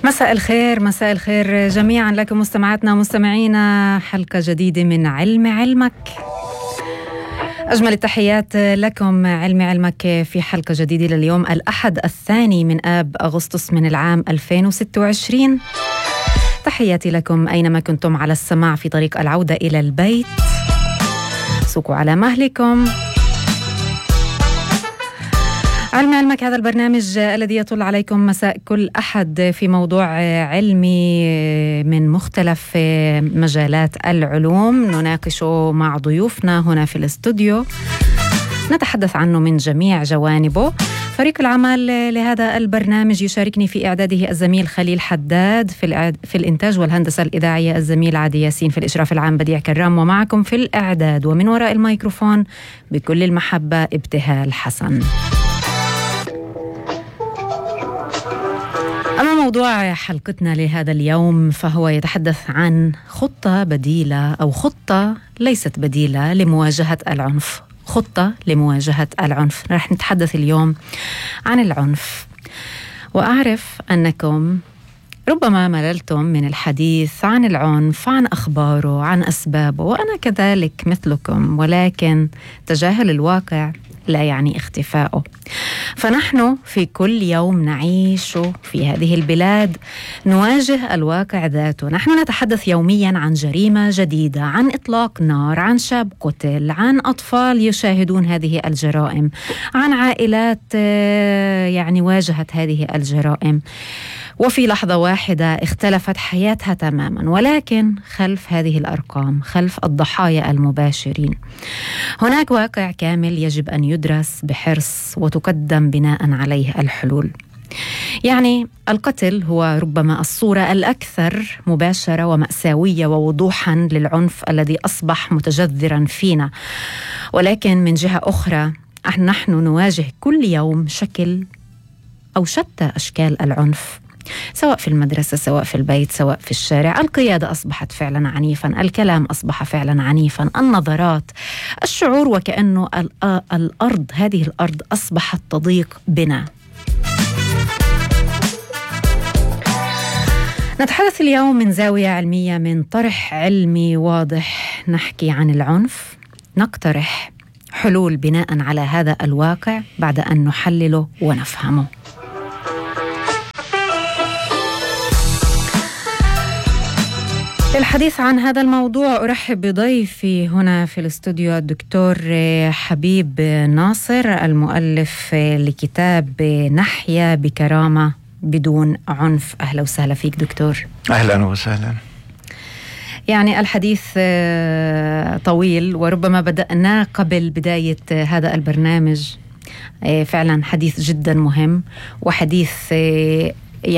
مساء الخير جميعا لكم مستمعاتنا ومستمعينا. حلقة جديدة من علم علمك. أجمل التحيات لكم. علم علمك في حلقة جديدة لليوم الأحد 2 من آب أغسطس من العام 2026. تحياتي لكم أينما كنتم على السماع في طريق العودة إلى البيت. سوقوا على مهلكم. علم علمك هذا البرنامج الذي يطل عليكم مساء كل أحد في موضوع علمي من مختلف مجالات العلوم نناقشه مع ضيوفنا هنا في الاستوديو، نتحدث عنه من جميع جوانبه. فريق العمل لهذا البرنامج يشاركني في إعداده الزميل خليل حداد، في الإنتاج والهندسة الإذاعية الزميل عادي ياسين، في الإشراف العام بديع كرام، ومعكم في الإعداد ومن وراء الميكروفون بكل المحبة ابتهال حسن. أما موضوع حلقتنا لهذا اليوم فهو يتحدث عن خطة بديلة أو خطة ليست بديلة لمواجهة العنف. خطة لمواجهة العنف. رح نتحدث اليوم عن العنف، وأعرف أنكم ربما مللتم من الحديث عن العنف، عن أخباره، عن أسبابه، وأنا كذلك مثلكم، ولكن تجاهل الواقع لا يعني اختفائه. فنحن في كل يوم نعيش في هذه البلاد نواجه الواقع ذاته. نحن نتحدث يوميا عن جريمة جديدة، عن إطلاق نار، عن شاب قتل، عن أطفال يشاهدون هذه الجرائم، عن عائلات واجهت هذه الجرائم وفي لحظة واحدة اختلفت حياتها تماما. ولكن خلف هذه الأرقام، خلف الضحايا المباشرين، هناك واقع كامل يجب أن يدرس بحرص وتقدم بناء عليه الحلول. القتل هو ربما الصورة الأكثر مباشرة ومأساوية ووضوحا للعنف الذي أصبح متجذرا فينا. ولكن من جهة أخرى نحن نواجه كل يوم شكل أو شتى أشكال العنف، سواء في المدرسة، سواء في البيت، سواء في الشارع. القيادة أصبحت فعلا عنيفا، الكلام أصبح فعلا عنيفا، النظرات، الشعور وكأنه هذه الأرض أصبحت تضيق بنا. نتحدث اليوم من زاوية علمية، من طرح علمي واضح. نحكي عن العنف، نقترح حلول بناء على هذا الواقع بعد أن نحلله ونفهمه. للحديث عن هذا الموضوع أرحب بضيفي هنا في الاستوديو الدكتور حبيب ناصر، المؤلف لكتاب نحيا بكرامة بدون عنف. أهلا وسهلا فيك دكتور. أهلا وسهلا. الحديث طويل وربما بدأنا قبل بداية هذا البرنامج. فعلا حديث جدا مهم، وحديث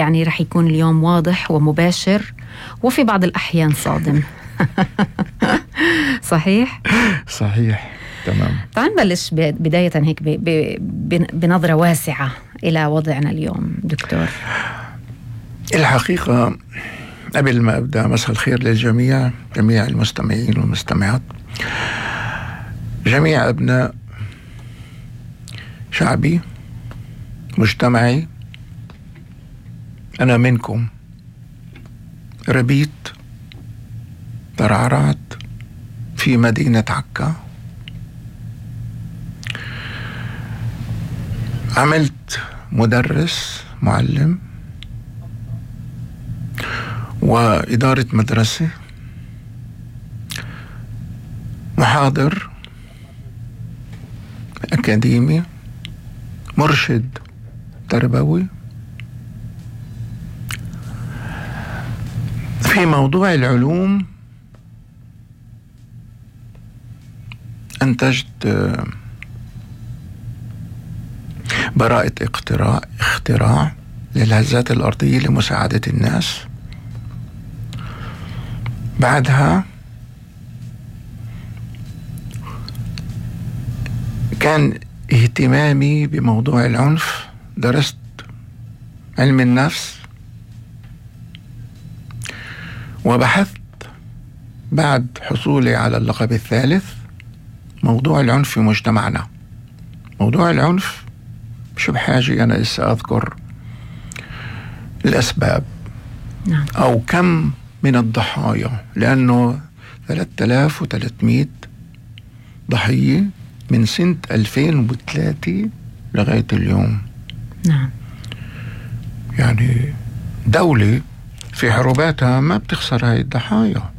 رح يكون اليوم واضح ومباشر وفي بعض الأحيان صادم. صحيح؟ صحيح، تمام. تعال نبلش بداية هيك بنظرة واسعة إلى وضعنا اليوم دكتور. الحقيقة قبل ما أبدأ، مساء الخير للجميع، جميع المستمعين والمستمعات، جميع أبناء شعبي، مجتمعي. أنا منكم، ربيت، ترعرعت في مدينة عكا، عملت مدرس، معلم، وإدارة مدرسة، محاضر أكاديمي، مرشد تربوي. في موضوع العلوم أنتجت براءة اختراع للهزات الأرضية لمساعدة الناس. بعدها كان اهتمامي بموضوع العنف، درست علم النفس وبحثت بعد حصولي على اللقب الثالث موضوع العنف في مجتمعنا. موضوع العنف مش بحاجة أنا لسه أذكر الأسباب نعم. أو كم من الضحايا، لأنه 3300 ضحية من سنة 2003 لغاية اليوم. نعم. يعني دولة في حروباتها ما بتخسر هاي الضحايا.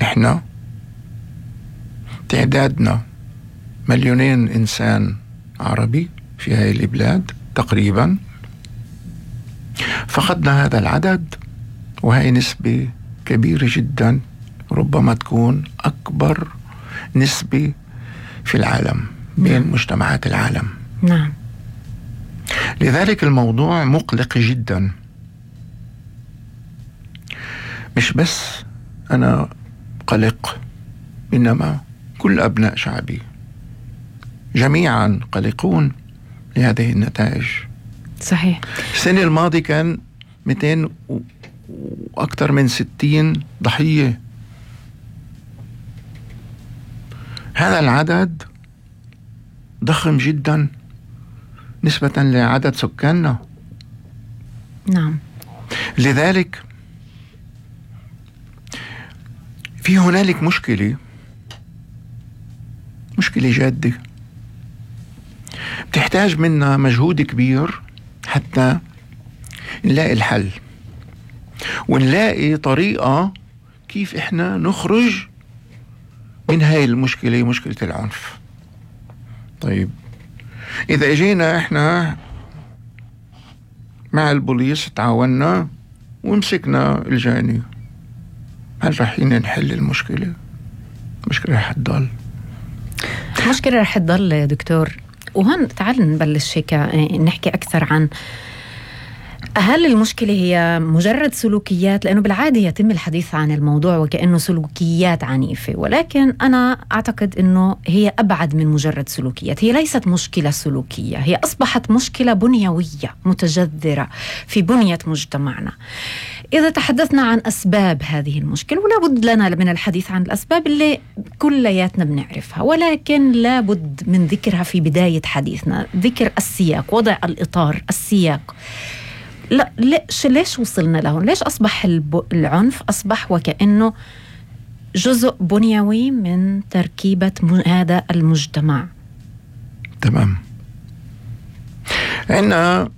إحنا تعدادنا 2,000,000 إنسان عربي في هاي البلاد تقريبا، فقدنا هذا العدد، وهي نسبة كبيرة جدا، ربما تكون أكبر نسبة في العالم بين مجتمعات العالم. نعم. لذلك الموضوع مقلق جدا. مش بس أنا قلق، إنما كل أبناء شعبي جميعا قلقون لهذه النتائج. صحيح. السنة الماضية كان 200 وأكثر من 60 ضحية. هذا العدد ضخم جدا نسبة لعدد سكاننا. نعم. لذلك في هنالك مشكلة جادة بتحتاج منا مجهود كبير حتى نلاقي الحل ونلاقي طريقة كيف إحنا نخرج من هاي المشكلة، مشكلة العنف. طيب، إذا اجينا إحنا مع البوليس تعاوننا ومسكنا الجاني، هل رح نحل المشكلة؟ المشكلة رح تضل. المشكلة رح تضل دكتور. وهون تعال نبلش هيك نحكي أكثر عن هل المشكلة هي مجرد سلوكيات، لأنه بالعادة يتم الحديث عن الموضوع وكأنه سلوكيات عنيفة، ولكن أنا أعتقد أنه هي أبعد من مجرد سلوكيات. هي ليست مشكلة سلوكية، هي أصبحت مشكلة بنيوية متجذرة في بنية مجتمعنا. إذا تحدثنا عن أسباب هذه المشكلة، ولا بد لنا من الحديث عن الأسباب اللي كلياتنا بنعرفها، ولكن لا بد من ذكرها في بداية حديثنا، ذكر السياق، وضع الإطار، السياق. لا ليش وصلنا لهون؟ ليش أصبح العنف أصبح وكأنه جزء بنيوي من تركيبة هذا المجتمع؟ تمام. عندنا